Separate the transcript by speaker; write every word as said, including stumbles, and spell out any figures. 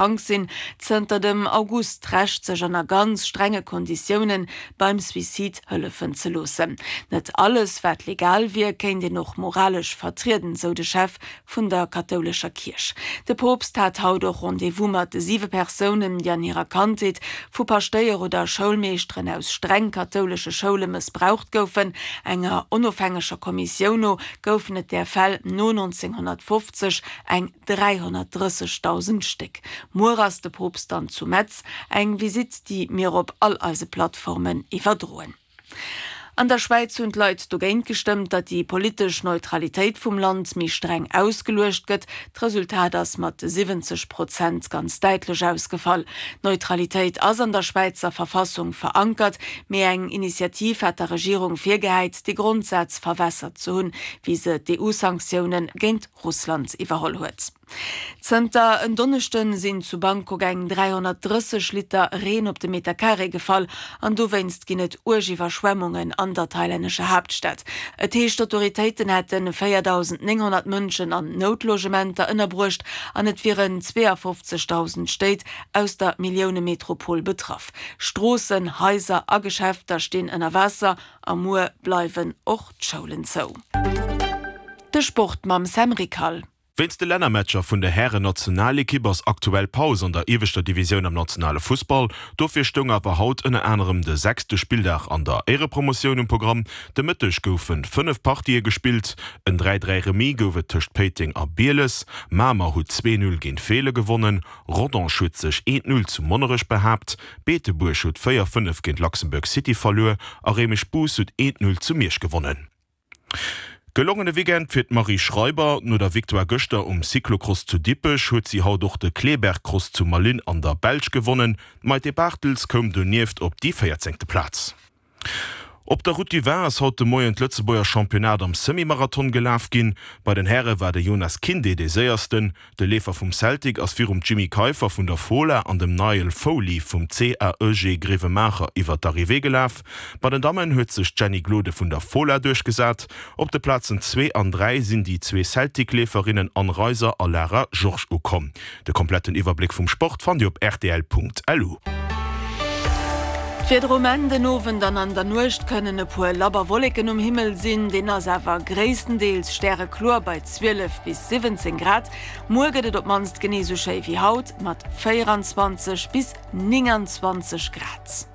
Speaker 1: krank sinn, zënter dem August d'Recht, sech ënner ganz strenge Konditioune beim Suicide hëllefen ze loossen. Net alles, wat legal wier, kéint een och moralesch vertrieden, sou de Chef vun der kathoulescher Kierch. De Poopst hat haut och Rendez-vous mat siwe Persounen, déi an hirer Kandheet vu Paschtéier oder Schoulmeeschteren aus streng kathoulesche Schoule mëssbraucht goufen. Enger onofhängeger Kommissioun no goufen et där Fäll no nonzénghonnertfofzeg eng dräihonnertdrëssegdausend Stéck. Muer ass de Poopst dann zu Metz, eng Visitt, déi mir op all eise Plattformen iwwerdroen. An der Schwäiz hunn d'Leit dogéint gestëmmt, datt déi politesch Neutralitéit vum Land méi streng ausgeluecht gëtt. D'Resultat ass mat siwwenzeg Prozent ganz däitlech ausgefall. D'Neutralitéit ass an der Schwäizer Verfassung verankert, mee eng Initiativ hat der Regierung virgehäit, dee Grondsaz verwässert ze hunn, wéi se d'EU-Sanktioune géint Russland iwwerholl huet. Zënter en Donneschde sinn zu Bangkok eng dräihonnertdrësseg Liter Reen op de Meter Carré gefall an dowéinst ginn et uerg Iwwerschwemmungen an der thailännescher Haaptstad. Et heescht, d'Autoritéiten hätte véierdausendnénghonnert Mënschen an Noutlogementer ënnerbruecht an et wieren zweeafofzegdausend Stéit aus der Milliounemetropol betraff. Stroossen, Haiser a Geschäfter stinn ënner Waasser a muer bleiwen och d'Schoulen zou. De Sport mam Sam Rickal.
Speaker 2: Wéinst de Lännermatcher vun der Hären-Nationalekipp ass aktuell Paus an der ieweschter Divisioun am nationale Fussball. Dofir stoung awer haut ënner anerem de sechste Spilldag an der Éierepromotioun um Programm. De Mëtteg goufe fënnef Partië gespillt. En dräi dräi Remis gouf et tëscht Péiteng a Bieles, Mamer huet zwee Null géint Feelen gewonnen, Rodange huet sech eent Null zu Monnerech behaapt, Beetebuerg huet véier fënnef géint Luxembourg City verluer a Réimech-Bous huet eent Null zu Miersch gewonnen. Gelongene Weekend fir d'Marie Schreiber. No der Victoire gëschter um Cyclocross zu Dippech huet si haut och de Kleberg-Cross zu Malines an der Belsch gewonnen. D'Maïté Barthels koum donieft op déi véierzéngte Plaz. Op der Route du Vin ass haut de Moien d'Lëtzebuerger Championnat am Semi-Marathon gelaf ginn. Bei den Häre war de Jonas Kinde dee Séiersten. De Leefer vum Celtic ass virum Jimmy Keiffer vun der Fola an dem Niall Foley vum C A E G Grevenmacher iwwer d'Arrivée gelaf. Bei den Dammen huet sech d'Jenny Glode vun der Fola duerchgesat. Op de Plazen zwee an dräi sinn déi zwee Celtic-Leeferinnen Anne Reiser a Lara Georges ukomm. De kompletten Iwwerbléck vum Sport fannt Dir op rtl Punkt L U.
Speaker 1: D'Wieder um Enn, Den Owend an an der Nuecht kënnen e puer labber Wolleken um Himmel sinn, deen ass awer gréisstendeels stärekloer bei zwielef bis siwwenzéng Grad. Muer gëtt et op d'mannst genee sou schéi wéi haut mat véieranzwanzeg bis nénganzwanzeg Grad.